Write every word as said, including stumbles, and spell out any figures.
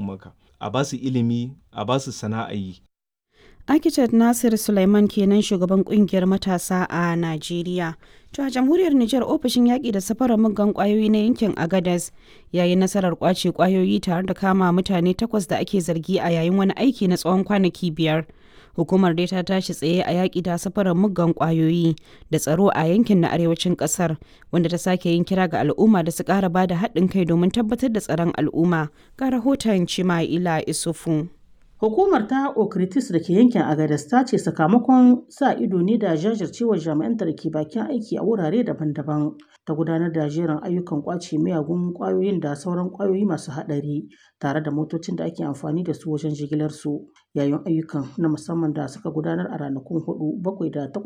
maka. A ba su ilimi, a ba su sana'a yi. Architect Nasir Suleiman kenan, shugaban kungiyar matasa a Najeriya. To, a jamhuriyar Nijar, ofishin yaƙi da safarar muggan ƙwayoyi na yankin Agadez yayin nasarar ƙwace ƙwayoyi tare da kama mutane takwas da ake zargi a yayin wani aiki na tsawon kwanaki biyar. Hukumar dai ta tashi tsaye a yaƙi da safarar muggan ƙwayoyi da tsaro a yankin na arewacin ƙasar, wanda ta sake yin kira ga al'umma da su ƙara ba da haɗin kai domin tabbatar da tsaron al'umma. Ga rahoton Chima'ila Isufu. Hukumar ta Okritis da ke yankin Agadez ta ce sakamakon sa ido ne da jajircewar jami'anta da ke bakin aiki a wurare daban-daban ta gudanar da jerin ayyukan kwace miyagun kwayoyin da sauran kwayoyi masu haɗari tare da motocin da ake amfani da su wajen jigilar su, yayin ayyukan na musamman da suka gudanar a ranakun hudu, bakwai da takwas.